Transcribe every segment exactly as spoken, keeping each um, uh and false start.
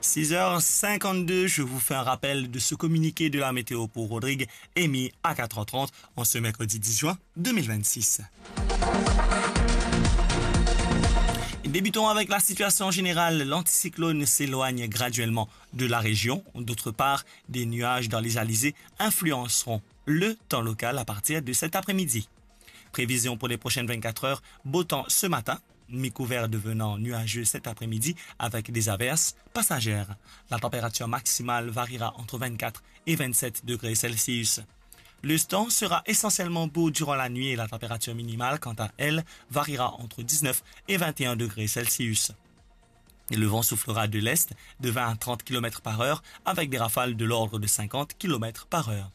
Six heures cinquante-deux, je vous fais un rappel de ce communiqué de la météo pour Rodrigues, émis à quatre heures trente en ce mercredi dix juin deux mille vingt-six. Débutons avec la situation générale. L'anticyclone s'éloigne graduellement de la région. D'autre part, des nuages dans les alizés influenceront le temps local à partir de cet après-midi. Prévision pour les prochaines vingt-quatre heures, beau temps ce matin, mi-couvert devenant nuageux cet après-midi avec des averses passagères. La température maximale variera entre vingt-quatre et vingt-sept degrés Celsius. Le temps sera essentiellement beau durant la nuit et la température minimale, quant à elle, variera entre dix-neuf et vingt et un degrés Celsius. Et le vent soufflera de l'est de vingt à trente kilomètres par heure avec des rafales de l'ordre de cinquante kilomètres par heure.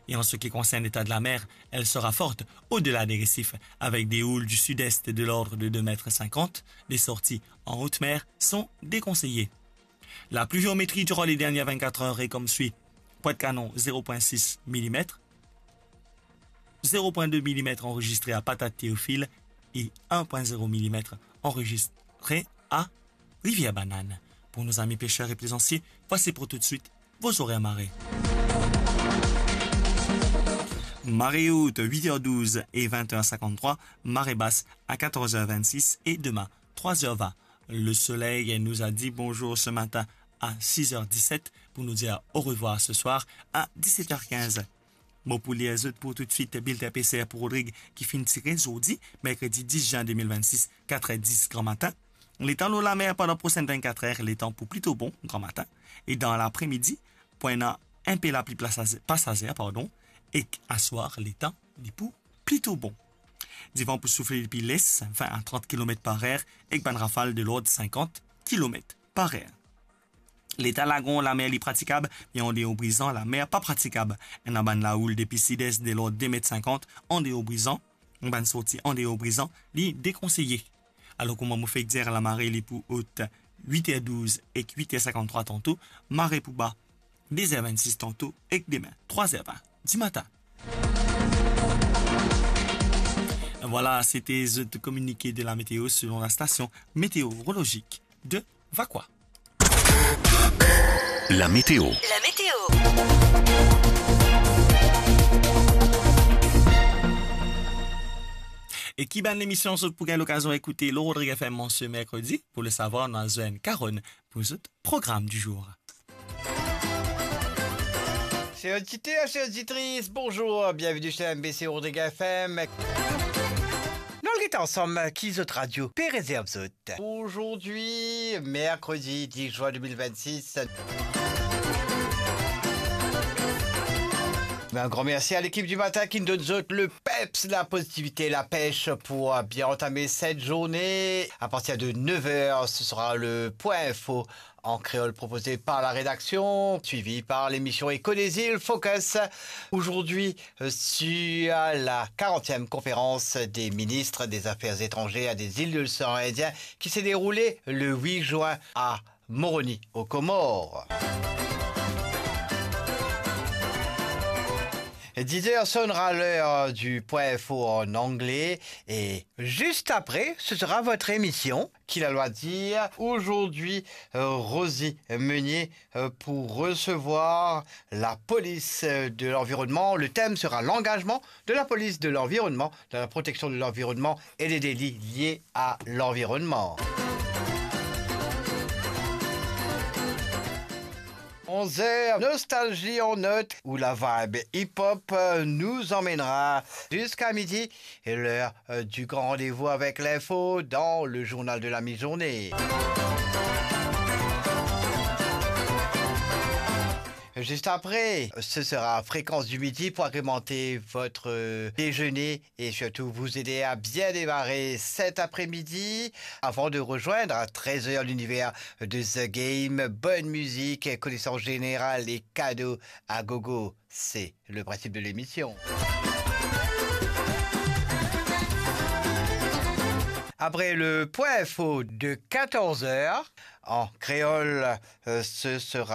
Et en ce qui concerne l'état de la mer, elle sera forte au-delà des récifs, avec des houles du sud-est de l'ordre de deux mètres cinquante. Les sorties en haute mer sont déconseillées. La pluviométrie durant les dernières vingt-quatre heures est comme suit. Pointe-Canon, zéro point six millimètres, zéro point deux millimètres enregistré à Patate Théophile et un point zéro millimètres enregistré à Rivière Banane. Pour nos amis pêcheurs et plaisanciers, voici pour tout de suite vos horaires marée. Marée haute, huit heures douze et vingt heures cinquante-trois, marée basse à quatorze heures vingt-six et demain, trois heures vingt. Le soleil nous a dit bonjour ce matin à six heures dix-sept pour nous dire au revoir ce soir à dix-sept heures quinze. Mo pou lir zot pou toutswit bilten PCR pou Rodrig ki finn tire zordi, merkredi dis zin de mil vennsis, kat er dis gramatin. Letan lor lamer pandan prosenn vennkat er, letan pou plito bon gramatin. E dan lapremidi, pou ena enpe lapli pasazer, pasazer, pardon, ek aswar, letan li pou plito bon. Divan pou soufle depi les, vin a trant kilomet par er, ek bann rafal de lord sinkant kilomet par er. Leta lagon, lamer li pratikab, me andeor Brizan, lamer pa pratikab. Ena bann laoul depi sid-es de lord de met sinkant, andeor Brizan, bann sorti andeor Brizan, li dekonseye. Alor, kouma mo fek dir, lamare li pou ot wit er douz ek wit er sinkant-trwa tanto, mare pou ba de zer vennsis tanto ek demin trwa zer vin dimatin. Vwala, sete zot kominike de la meteo selon la stasion meteorolojik de Vakoa. La météo. La météo. E ki bann lemision zot pou gagn lokazion ekoute lor Rodrig FM an se merkredi? Pou le savwar, nou al zwenn Karonn pou zot program di zour. Chers auditeurs, chères auditrices, bonjour, bienvenue sur M B C Rodrig F M. Nou al get ansam ki zot radio pe rezerv zot. Aujourd'hui, mercredi dix juin deux mille vingt-six. Un grand merci à l'équipe du matin qui nous donne zot le peps, la positivité, la pêche pour bien entamer cette journée. À partir de neuf heures, ce sera le point info en créole proposé par la rédaction, suivi par l'émission Écho des Îles Focus. Aujourd'hui, euh, sur la quarantième conférence des ministres des Affaires étrangères des îles de l'océan Indien qui s'est déroulée le huit juin à Moroni, aux Comores. Dix heures sonnera l'heure du point info en anglais et juste après, ce sera votre émission, Ki lalwa dir. Aujourd'hui, euh, Rosie Meunier, euh, pour recevoir la police, euh, de l'environnement. Le thème sera l'engagement de la police de l'environnement dans la protection de l'environnement et les délits liés à l'environnement. Onze heures, Nostalgie en notes, où la vibe hip-hop, euh, nous emmènera jusqu'à midi. Et l'heure, euh, du grand rendez-vous avec l'info dans le journal de la mi-journée. Juste après, ce sera Fréquence du Midi pour agrémenter votre, euh, déjeuner et surtout vous aider à bien démarrer cet après-midi avant de rejoindre à treize heures l'univers de The Game. Bonne musique, connaissance générale et cadeaux à gogo. C'est le principe de l'émission. Après le point info de quatorze heures, en créole, euh, ce sera